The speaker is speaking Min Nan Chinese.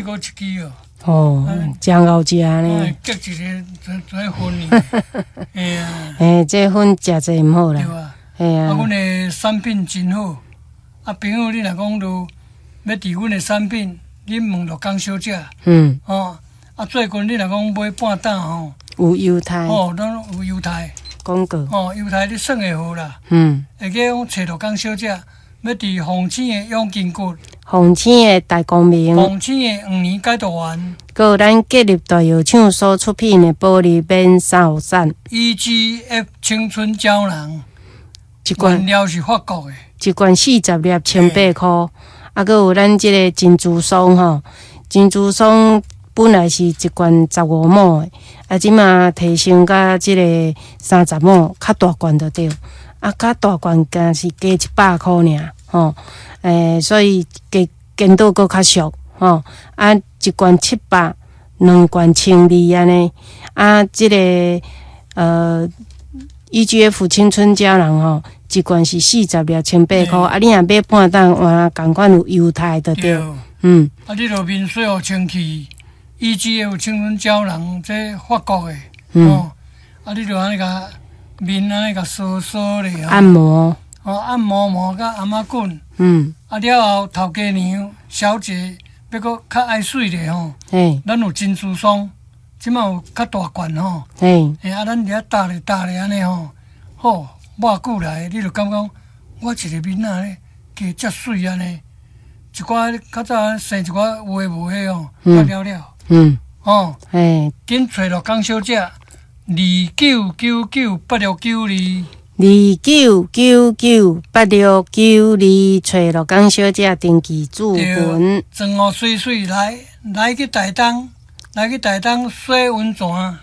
閣一支哦。哦，誠𠢕食呢。結一个做粉呢。嘿啊。嘿，這粉食濟毋好啦。對啊。嘿啊。啊，阮的產品真好。啊，朋友，你若講著欲佇阮的產品，你問陸江小姐。哦，啊，最近你若講買半擔吼，有猶太。哦，攏有猶太。廣告。哦，猶太你算會好啦。會記講揣陸江小姐，欲佇鳳青的養筋骨。鳳青的大光明。鳳青的黃連解毒丸。閣有咱吉立大藥廠所出品的保利免三雨傘。 EGF 青春膠囊。一罐原料是法國的。一罐40粒，18箍。啊，閣有咱這个珍珠霜吼，珍珠霜本來是一罐15畝的，啊，這馬提升到這个30畝，較大罐就對。啊，較大罐敢是加100箍爾吼，所以加堅度閣較俗吼。啊，一罐700，兩罐1200按呢。啊，這个EGF 青春膠囊吼，一罐是40粒，18箍。啊，你若買半擔，換仝款有優待就對。啊，你著面洗予清氣，EGF 青春膠囊這法國的，哦，啊，你著按呢共面按呢共梳梳咧，按摩。哦，按摩摩佮按摩棍。啊，了後頭家娘小姐欲閣較愛媠咧吼，咱有珍珠霜，這馬有較大罐吼。啊，咱佇遐搭咧搭咧按呢吼，好，抹久來，你就感覺我一个面仔咧加遮媠按呢，一寡較早生一寡有的無的吼，了了。哦。緊揣陸江小姐，29998692。29998692，揣陸江小姐登記註文。妝予媠媠來，來去台東，來去台東洗溫泉。